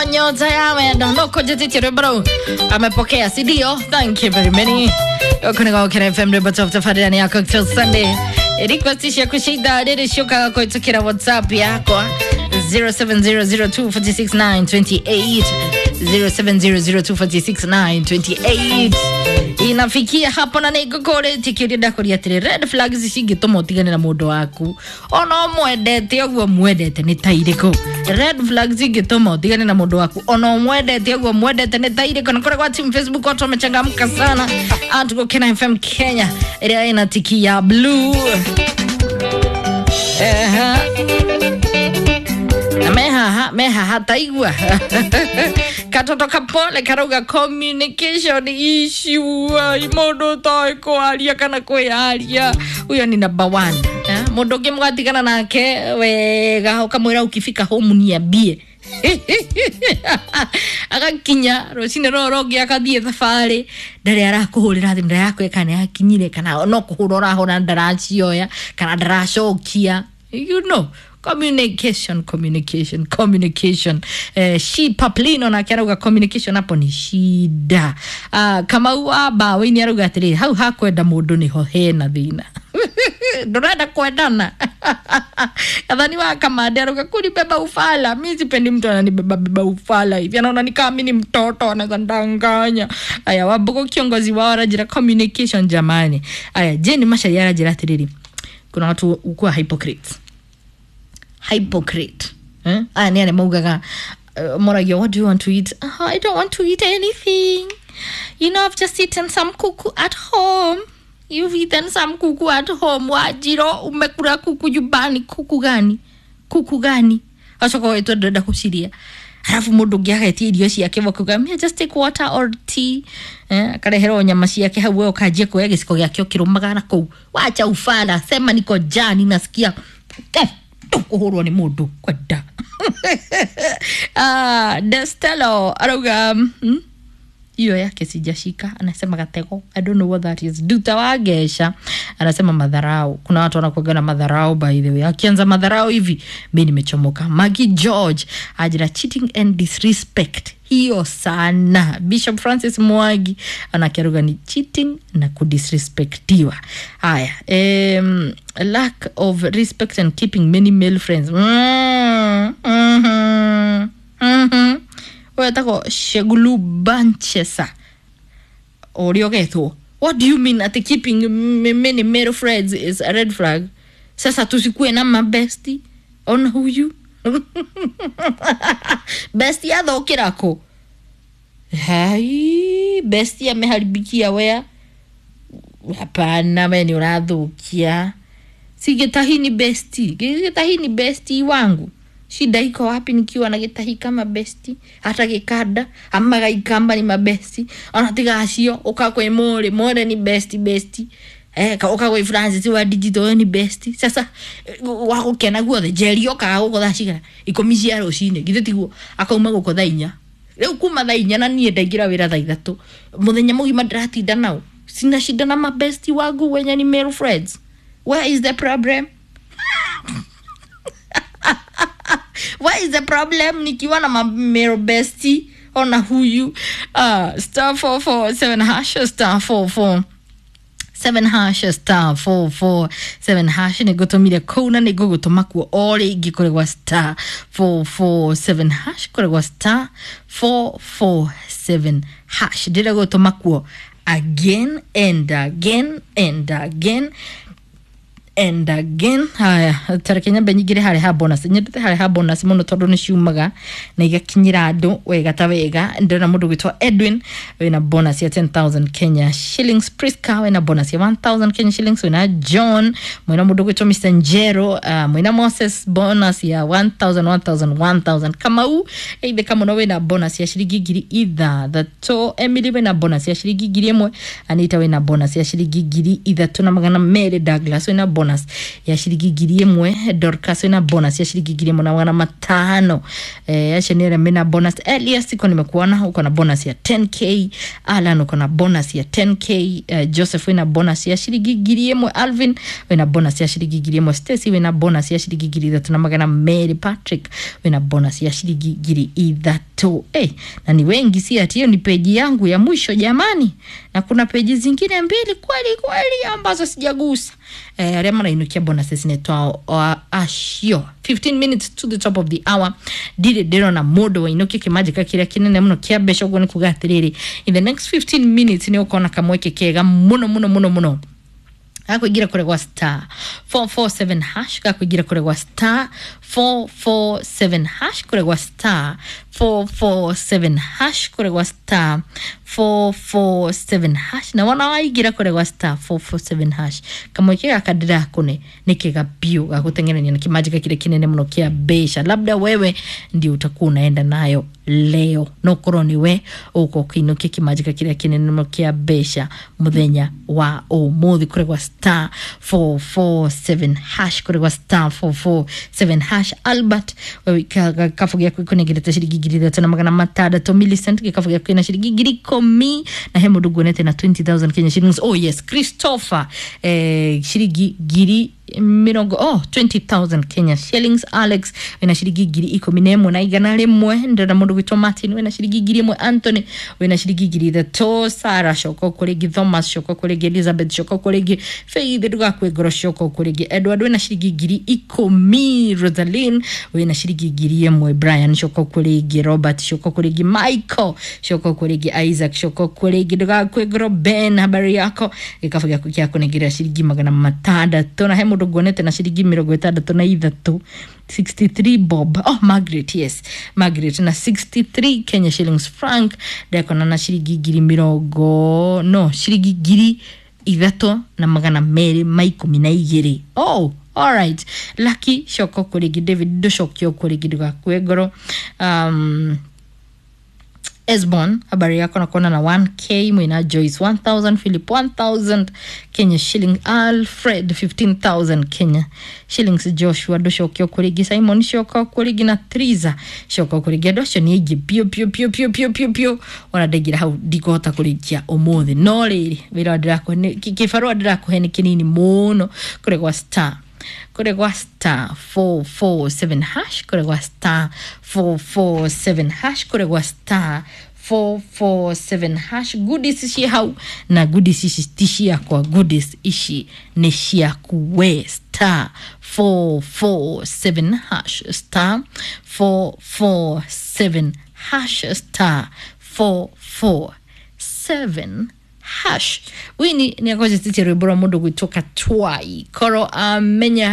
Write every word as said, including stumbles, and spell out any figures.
Rwĩmbo Nyota ya Wendo no kũnjĩtĩtie rwĩmbo rũu amepokea, si ndio? Thank you very many. Gũkũ nĩ Gũkena F M, rwĩmbo top tabarĩra nĩ ya Cocktail Sunday. Request ciaku cia ithaa rĩrĩ ciũkaga kũhĩtũkĩra WhatsApp yakwa zero seven zero zero two four six nine two eight, zero seven zero zero two four six nine two eight. Inafikia hapo na nĩngũkũrĩtie kĩũria ndakũria atĩrĩ, red flags cingĩtũma ũtigane na mũndũ waku ona ũmwendete ũguo mwendete nĩ ta irĩkũ? Red flags cingĩtũma ũtigane na mũndũ waku ona ũmwendete ũguo mwendete nĩ ta irĩkũ? Na kũrĩa kwa team Facebook watu wamechangamka sana at Gũkena F M Kenya ĩrĩa ĩna tiki ya blue. Ehe. Na mehaha mehaha taigua katoto kapole karauga communication issue. Ai, mundu utoĩ kwaria kana kwĩyaria, huyo ni number one. Eh, mundu ũngĩ mũgatigana nake wega ũkamwĩra ukifika home niambie. Agakinya rũcinĩ rũrũ rũngĩ akathiĩ thabarĩ, ndarĩ arakũhũrĩra thimũ, ndarakwĩra kana nĩakinyire kana no kũhũra ũrahũra ndaracioya kana ndaracokia. You know, communication, communication, communication. Eh, she Paplino nake arauga communication hapo ni shida. Ah, Kamau wa Mbaũini arauga atĩrĩrĩ, hau hakwenda mũndũ nĩho hena thĩna. Ndũrenda kwendana. Kadhani wa Kamande arauga kunibeba ufala. Mi sipendi mtu ananibeba beba ufala hivi. Anaona ni kama mimi ni mtoto anaweza ndanganya. Aya, Wambugu kiongozi wao arajira communication jamani. Aya, Jane Macharia arajira atĩrĩrĩ, kuna watu ukuwa hypocrites. Hypocrite. Eh? Aya ni arĩa maugaga, uh, moragia, what do you want to eat? Oh, I don't want to eat anything. You know, I've just eaten some kuku at home. You've eaten some kuku at home. Wajiro, umekula kuku nyumbani. Kuku gani? Kuku gani? Acoka wetwo ndĩrenda gũciria. Halafu mũndũ ũngĩ agetia irio ciake bakuga, me just take water or tea. Eh, akareherwo nyama ciake hau, we ũkanjia kuoya gĩciko gĩake ũkĩrũmaga na kũu. Wacha ufala, sema niko njaa, ninasikia. Eh, kũhũrwo nĩ mũndũ kwenda. Ah, Destelo arauga, hmm? Hiyo yake sijashika, anasema gatego, I don't know what that is. Duta wa Gesha anasema madharau. Kuna watu wanakuwaga na madharau, by the way. Akianza madharau hivi mimi nimechomoka. Maggie George ajira cheating and disrespect, hiyo sana. Bishop Francis Mwagi anakiaruga ni cheating na kudisrespectiwa. Haya, um, lack of respect and keeping many male friends. Mm, mm-hmm, mm-hmm. Wetagwo Shegulu Banchesa ũrĩa ũgetwo, what do you mean ati keeping many male friends is a red flag? Sasa tusikue na mabesti ona huyu besti athũkĩra kũ? Hai, besti ameharibikia wea. Hapana, we ni ũrathũkia. Si gĩtahi ni besti, gĩtahi ni besti wangu. Shida iko wapi nikiwa na gĩtahi kama besti? Hata gĩkanda ama gaikamba ni mabesti. Ona tiga acio uka kwĩ mũrĩ mũrĩ ni besti besti. Eh, ka uka kwĩ Francis wa digital ni besti. Sasa wa gũkena guothe Jerry okaga gũkũ thaa cigana? Ikũmi cia rũcinĩ, githĩ tiguo? Akauma gũkũ thaa inya. Rĩu kuma thaa inya na niĩ ndaingĩra wĩra thaa ithatũ, mũthenya mũgima ndĩratinda nao. Sina shida na mabesti wangu wenye ni male friends. Where is the problem? What is the problem nikiwa na male bestie ona huyu? Uh, star four four seven hash, star four four seven hash, star four four seven hash. Nĩngũtũmire kũu na nĩngũgũtũma kuo o rĩngĩ kũrĩ gwa star four four seven hash, kũrĩ gwa star four four seven hash. Ndĩragũtũma kuo again and again and again and again. Haya, tareke nyambe nyingĩre harĩa ha bonus. Nyendete harĩa ha bonus mũno tondũ nĩ ciumaga na igakinyĩra andũ wega ta wega. Ndĩrona mũndũ gwĩtwo Edwin wĩna bonus ya ten thousand Kenya shillings. Priska wĩna bonus ya one thousand Kenya shillings. Wĩna John, mwĩna mũndũ gwĩtwo Mister Njero, uh, mwĩna Moses bonus ya one thousand, one thousand, one thousand. Kamau eitheka mũno wĩna bonus ya ciringi ngiri ithathatũ. Emily wĩna bonus ya ciringi ngiri ĩmwe. Anita wĩna bonus ya ciringi ngiri ithatũ na magana merĩ. Douglas wĩna bonus ya ciringi ngiri ĩmwe. Dorcas wĩna bonus ya ciringi ngiri ĩmwe na magana matano. Eh, acio nĩ arĩa mena bonus. Elias iko nimekuona uko na bonus ya ten K. Alan uko na bonus ya ten K. Eh, Joseph wĩna bonus ya ciringi ngiri ĩmwe. Alvin wĩna bonus ya ciringi ngiri ĩmwe. Stacy wĩna bonus ya ciringi ngiri ithatũ na magana merĩ. Patrick wĩna bonus ya ciringi ngiri ithatũ. ithatũ. Hey, na ni wengi, si ati hiyo ni peji yangu ya mwisho jamani, na kuna peji zingine mbili kweli kweli ambazo sijagusa. Eh, aria marainukia bonuses netwa acio fifteen minutes to the top of the hour. Ndirĩ ndĩrona mũndũ wainukia kĩmanjĩka kĩrĩa kĩnene mũno kĩa mbeca. Ũguo nĩ kuga atĩrĩrĩ, in the next fifteen minutes nĩ ũkona kamweke kega mũno mũno mũno mũno gakuingira kũrĩa gwa star four four seven hash, gakuingira kũrĩa gwa star four four seven hash, kũrĩa gwa star four four seven hash, kũrĩa gwa star four four seven hash. Na wona waingira kũrĩa gwa star four four seven hash, kamweke gaka ndĩrakũne nĩ kega biũ gagũteng'erania na kĩmanjĩka kĩrĩa kĩnene mũno kĩa mbeca. Labda wewe ndio utakuwa unaenda nayo leo, no korwo nĩ we ũgũkorwo ũkĩinũkia kĩmanjĩka kĩrĩa kĩnene mũno kĩa mbeca mũthenya wa ũmũthĩ kũrĩa gwa star four four seven hash, kũrĩa gwa star four four seven hash. Albert, wewe gĩkabu gĩaku ĩkũnengerete ciringi ngiri ithatũ na magana matandatũ. Millicent, gĩkabu gĩaku kĩna ciringi ngiri ikũmi. Na he mũndũ nguonete na twenty thousand Kenya shillings. Oh yes, Christopher, eh, ciringi ngiri mĩrongo, oh, twenty thousand Kenya shillings. Alex wĩna ciringi ngiri ikũmi na ĩmwe na igana rĩmwe. Ndĩrona mũndũ gwĩtwo Martin wĩna ciringi ngiri ĩmwe. Anthony wĩna ciringi ngiri ithatũ. Sara coka kũrĩ ngĩ. Thomas coka kũrĩ ngĩ. Elizabeth coka kũrĩ ngĩ. Faith, ndũgakue ngoro, coka kũrĩ ngĩ. Edward wĩna ciringi ngiri ikũmi. Rosaline wĩna ciringi ngiri ĩmwe. Brian coka kũrĩ ngĩ. Robert coka kũrĩ ngĩ. Michael coka kũrĩ ngĩ. Isaac coka kũrĩ ngĩ, ndũgakue ngoro. Ben, habari yako? Gĩkabu gĩaku gĩakũnengera ciringi magana matandatũ. Na he mũndũ nguonete na ciringi mĩrongo ĩtandatũ na ithatũ, sixty-three bob. Oh, Margaret, yes, Margaret na sixty-three Kenya shillings. Frank ndekona na ciringi ngiri mĩrongo, no, ciringi ngiri ithatũ na magana merĩ ma ikũmi na igĩrĩ. Oh, alright. Lucky coka kũrĩ ngĩ. David, ndũcokio kũrĩ ngĩ, ndũgakue ngoro. um, Esbon, habari yako? Nakuona na one k. Mwina Joyce one thousand, Philip one thousand Kenya shilling, Alfred fifteen thousand Kenya shillings, Joshua ndũcokio kũrĩngĩ, Simon coka kũrĩngĩ, na Triza coka kũrĩngĩ. Andũ acio nĩ aingĩ biũ biũ biũ biũ biũ biũ biũ, ona ndaingĩra hau ndikũhota kũrĩkia ũmũthĩ. No rĩrĩ, wĩra ndĩrakũhe nĩ- kĩ- kĩbarũa ndĩrakũhe nĩ kĩnini mũno, kũrĩa gwa star kũrĩa gwa star four four seven hash, kũrĩa gwa star four four seven hash, kũrĩa gwa star four four seven hash. Goodies ciĩ hau, na goodies ici ti ciakwa, goodies ici nĩ ciaku we. Star four four seven hash, star four four seven hash, star four four seven hash. Wini nĩ agonjetitie rwĩmbo rwa mũndũ gwĩtwo Katwai koro amenya.